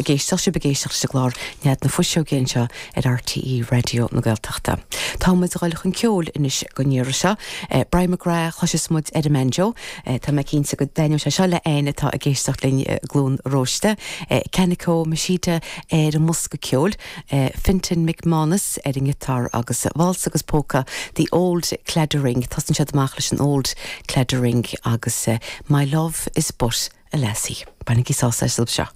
ag éisteacht, sibh ag éisteacht leis an gclár Nead na Fuiseoige anseo ar RTÉ Raidió na Gaeltachta. Tá muid ag dul chun ceoil anois don iarraidh seo. Brian McGrath chloisfeas muid ar an mbanjo. Tá mé cinnte go dtaitneoidh sé seo le éinne atá ag éisteacht linn i gCluain Róiste. Kanako Mashita ar an mbosca ceoil, Fintan McManus ar an ngiotár agus válsa agus póca The Old Claddagh Ring. Tosaíonn siad amach leis an Old Claddagh Ring agus My Love is But a Lassie. Bainigí sásamh as seo.